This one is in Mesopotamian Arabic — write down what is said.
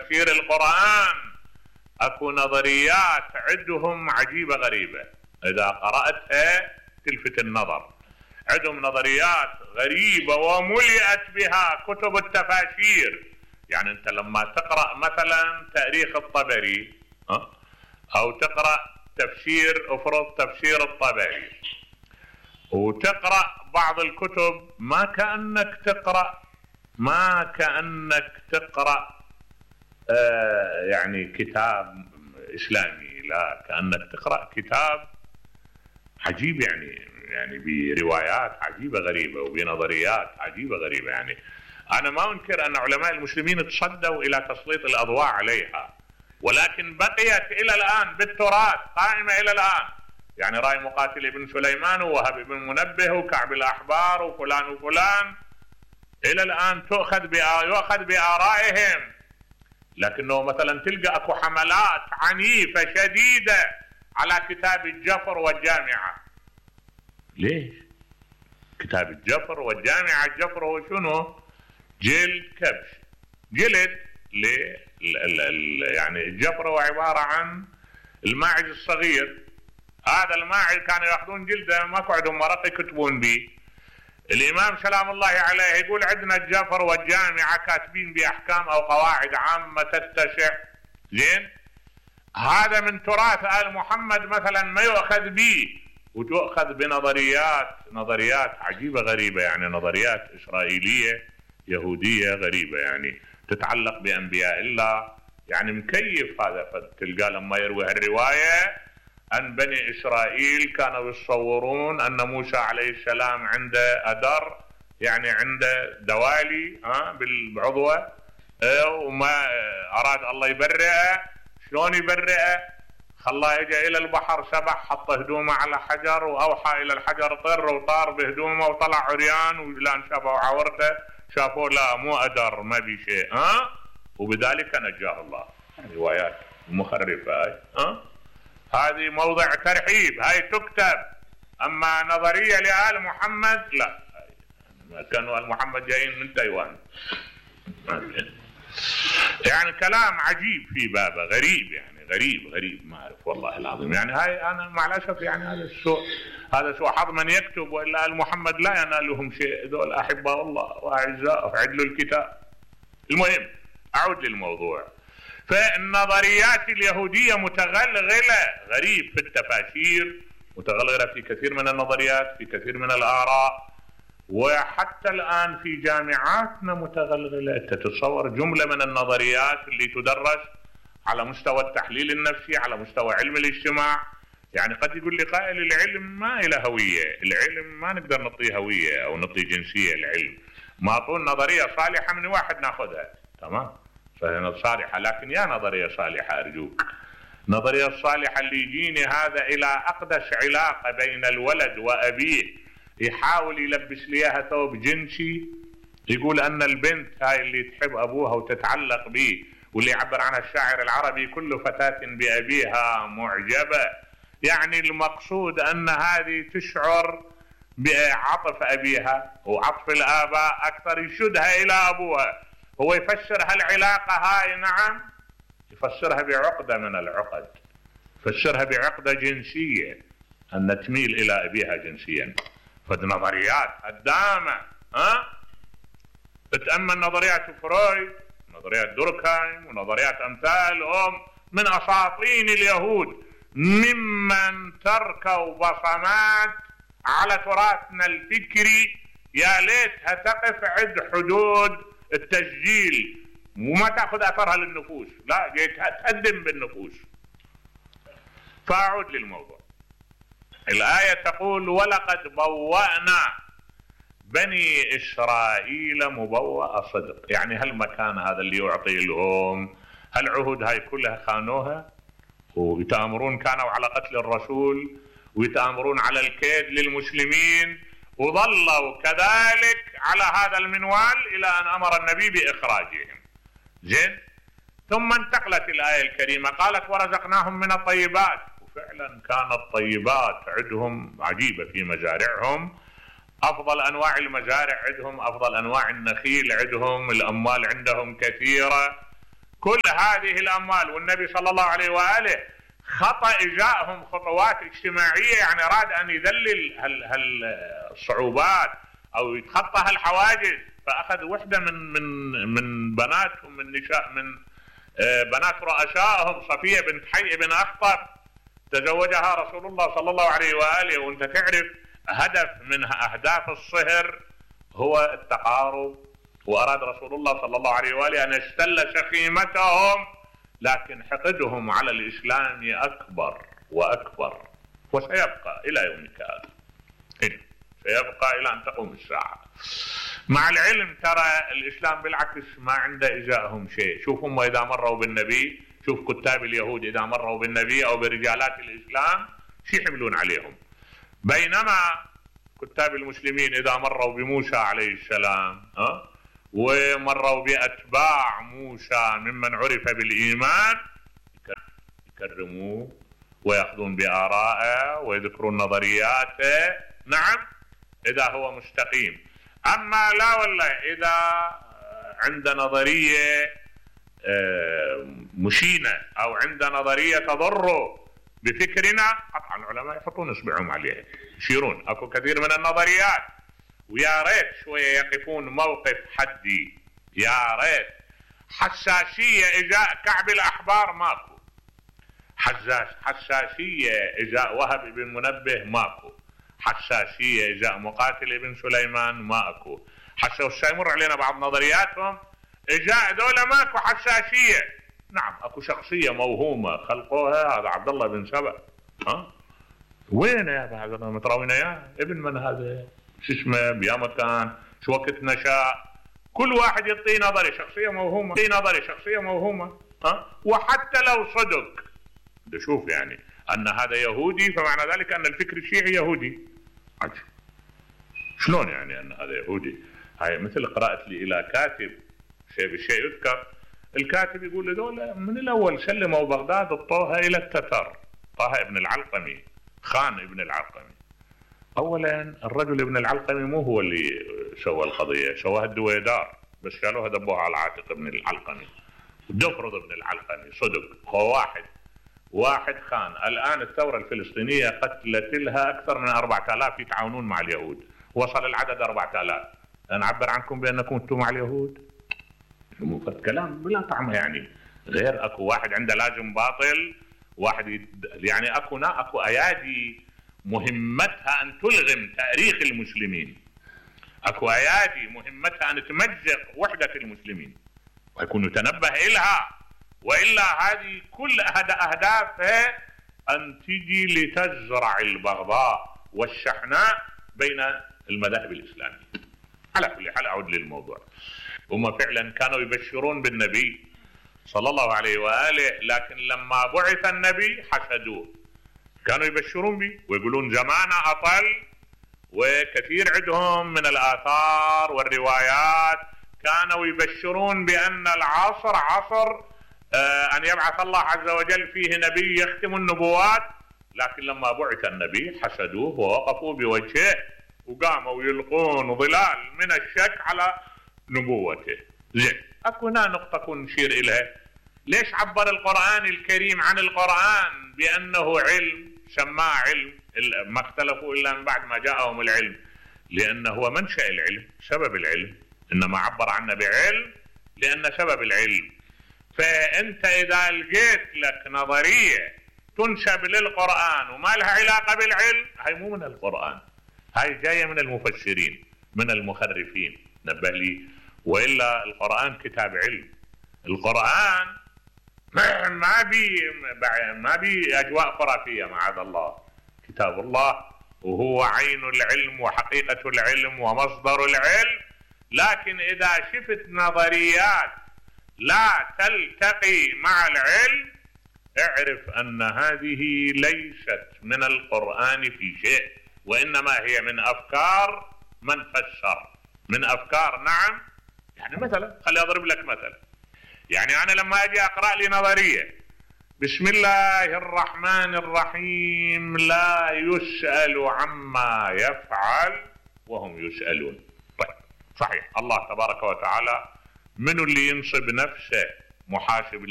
تفسير القرآن اكو نظريات عندهم عجيبة غريبة، اذا قرأتها تلفت النظر. عندهم نظريات غريبة وملئت بها كتب التفاسير. يعني انت لما تقرأ مثلا تاريخ الطبري او تقرأ افرض تفسير الطبري وتقرأ بعض الكتب، ما كأنك تقرأ يعني كتاب اسلامي، لا، كأنك تقرأ كتاب عجيب، يعني بروايات عجيبة غريبة وبنظريات عجيبة غريبة. يعني انا ما انكر ان علماء المسلمين تصدوا الى تسليط الاضواء عليها، ولكن بقيت الى الان بالتراث، قائمة الى الان. يعني رأي مقاتل ابن سليمان ووهب بن منبه وكعب الاحبار وفلان وفلان الى الان يؤخذ بآرائهم، لكنه مثلا تلقى اكو حملات عنيفة شديدة على كتاب الجفر والجامعة. ليش؟ كتاب الجفر والجامعة، الجفر هو شنو؟ جلد كبش، جلد ليه؟ يعني الجفر هو عبارة عن الماعز الصغير. هذا الماعز كانوا ياخذون جلده، ماكو عندهم ورق يكتبون به. الامام سلام الله عليه يقول عندنا الجفر والجامعة كاتبين باحكام او قواعد عامة تتسع. زين؟ هذا من تراث آل محمد مثلا ما يؤخذ به، وتؤخذ نظريات عجيبة غريبة، يعني نظريات إسرائيلية يهودية غريبة، يعني تتعلق بأنبياء الله. يعني مكيف هذا. فتلقى لما يروي الرواية أن بني إسرائيل كانوا يتصورون أن موسى عليه السلام عنده أدر، يعني عنده دوالي بالعضوة، وما أراد الله يبرئه. شلون يبرئه؟ خلاه يجي إلى البحر، سبح، حط هدومه على حجر وأوحى إلى الحجر طر، وطار بهدومه وطلع عريان، ولان شافوا عورته شافوا لا مو أدر، ما بي شيء، وبذلك نجاه الله. روايات مخرفة هذه موضع ترحيب، هاي تكتب. أما نظرية لآل محمد لا، كانوا آل محمد جايين من تايوان. يعني كلام عجيب في بابه، غريب، يعني غريب ما أعرف والله العظيم. يعني هاي أنا مع الأسف يعني هذا سوء حظ من يكتب، وإلا آل محمد لا ينالهم شيء، ذول أحباء الله وأعزاء، عدلوا الكتاب. المهم أعود للموضوع. فالنظريات اليهودية متغلغلة غريب في التفاسير، متغلغلة في كثير من النظريات، في كثير من الآراء، وحتى الآن في جامعاتنا متغلغلة. تتصور جملة من النظريات اللي تدرس على مستوى التحليل النفسي، على مستوى علم الاجتماع. يعني قد يقول لي قائل العلم ما له هوية، العلم ما نقدر نعطيه هوية أو نعطيه جنسية. العلم ما طول نظرية صالحة من واحد ناخذها، تمام، فهي صالحة، لكن يا نظرية صالحة أرجوك، نظرية الصالحة اللي يجيني هذا إلى أقدس علاقة بين الولد وأبيه، يحاول يلبس ليها ثوب جنسي، يقول أن البنت هاي اللي تحب أبوها وتتعلق به، واللي يعبر عنها الشاعر العربي كل فتاة بأبيها معجبة. يعني المقصود أن هذه تشعر بعطف أبيها وعطف الآباء أكثر، يشدها إلى أبوها. هو يفسر هالعلاقة هاي، نعم، يفسرها بعقدة من العقد، يفسرها بعقدة جنسية، أن تميل إلى أبيها جنسيا. فالنظريات هدامة. تتأمل نظريات فرويد، نظريات دوركهايم، ونظريات أمثالهم من أساطين اليهود، ممن تركوا بصمات على تراثنا الفكري يا ليتها تقف عند حدود التسجيل وما تأخذ أثرها للنفوس، لا، تهدم بالنفوس. فأعود للموضوع. الآية تقول ولقد بوأنا بني إسرائيل مبوأ صدق. يعني هالمكان هذا اللي يعطي لهم هالعهود هاي كلها خانوها، ويتآمرون كانوا على قتل الرسول، ويتآمرون على الكيد للمسلمين، وظلوا كذلك على هذا المنوال إلى أن أمر النبي بإخراجهم. زين؟ ثم انتقلت الآية الكريمة قالت ورزقناهم من الطيبات. وفعلا كانت الطيبات عندهم عجيبة في مزارعهم، أفضل أنواع المزارع عندهم، أفضل أنواع النخيل عندهم، الأموال عندهم كثيرة. كل هذه الأموال، والنبي صلى الله عليه وآله خطأ إجاءهم خطوات اجتماعية، يعني أراد أن يذلل هالصعوبات أو يتخطى هالحواجز، فأخذ وحدة من بناتهم، من نساء، من بنات رؤسائهم، صفية بنت حي بن أخطب، تزوجها رسول الله صلى الله عليه وآله. وأنت تعرف هدف من أهداف الصهر هو التقارب، وأراد رسول الله صلى الله عليه وآله أن يستل شخيمتهم، لكن حقدهم على الإسلام أكبر وأكبر، وسيبقى إلى يومك هذا، سيبقى إلى أن تقوم الساعة. مع العلم ترى الإسلام بالعكس ما عنده إزاءهم شيء. شوف هم إذا مروا بالنبي، شوف كتاب اليهود إذا مروا بالنبي أو برجالات الإسلام شو يحملون عليهم، بينما كتاب المسلمين إذا مروا بموسى عليه السلام ومروا بأتباع موسى ممن عرف بالإيمان يكرموه ويأخذون بآرائه ويذكرون نظرياته، نعم إذا هو مستقيم. أما لا والله إذا عند نظرية مشينة أو عند نظرية تضر بفكرنا، قطعا العلماء يحطون إصبعهم عليها يشيرون. أكو كثير من النظريات ويا ريت شوية يقفون موقف حدي، يا ريت. حساسية إزاء كعب الأحبار ماكو، حساسية إزاء وهب بن منبه ماكو، حساسية إزاء مقاتل ابن سليمان ماكو. حتى سيمر علينا بعض نظرياتهم إزاء دولة ماكو حساسية. نعم اكو شخصية موهومة خلقوها، هذا عبد الله بن سبأ. وين يا هذا متراوين يا ابن من هذا؟ شو اسمه؟ بيا مكان؟ شو وقت نشأ؟ كل واحد يعطي نظري، شخصية موهومة، يعطي نظري شخصية موهومة. وحتى لو صدق شوف يعني أن هذا يهودي، فمعنى ذلك أن الفكر الشيعي يهودي. عجب. شلون يعني أن هذا يهودي؟ هاي مثل قراءة لي إلى كاتب شيء بالشيء يذكر، الكاتب يقول لذولا من الأول سلموا بغداد اعطوها إلى التتر، طه ابن العلقمي، خان ابن العلقمي. أولا الرجل ابن العلقمي مو هو اللي سوى القضية، سواها الدويدار، بس شالوها دبوها على عاتق ابن العلقمي. دفرض ابن العلقمي صدق هو واحد خان. الآن الثورة الفلسطينية قتلت لها أكثر من 4000 يتعاونون مع اليهود، وصل العدد 4000. أنا أعبر عنكم بأنكم أنتم مع اليهود، كلام بلا طعم يعني. غير اكو واحد عنده لازم باطل، واحد يعني اكو ايادي مهمتها ان تلغم تاريخ المسلمين، اكو ايادي مهمتها ان تمزق وحدة المسلمين، ويكون يتنبه إلها، وإلا هذه كل أهدافها أن تجي لتزرع البغضاء والشحناء بين المذاهب الإسلامية. على كل حال أعود للموضوع، هم فعلا كانوا يبشرون بالنبي صلى الله عليه وآله، لكن لما بعث النبي حسدوه. كانوا يبشرون به ويقولون زمانه أطل، وكثير عندهم من الآثار والروايات كانوا يبشرون بأن العصر عصر أن يبعث الله عز وجل فيه نبي يختم النبوات. لكن لما بعث النبي حسدوه ووقفوا بوجهه وقاموا يلقون ظلال من الشك على نبوته. زين، اكو هنا نقطة كون نشير إليها. ليش عبر القرآن الكريم عن القرآن بأنه علم، سماه علم؟ ما اختلفوا إلا من بعد ما جاءهم العلم، لأنه هو منشأ العلم، سبب العلم، إنما عبر عنه بعلم لأن سبب العلم. فأنت إذا لقيت لك نظرية تنسب للقرآن وما لها علاقة بالعلم، هاي مو من القرآن، هاي جاية من المفسرين، من المخرفين، نبه لي. وإلا القرآن كتاب علم، القرآن ما بي أجواء خرافية معاذ الله، كتاب الله وهو عين العلم وحقيقة العلم ومصدر العلم. لكن إذا شفت نظريات لا تلتقي مع العلم، اعرف أن هذه ليست من القرآن في شيء، وإنما هي من أفكار من فسر، من أفكار. نعم، يعني مثلا خلي أضرب لك مثلا، يعني أنا لما أجي أقرأ لي نظرية بسم الله الرحمن الرحيم لا يسأل عما يفعل وهم يسألون. طيب صحيح الله تبارك وتعالى من اللي ينصب نفسه محاسب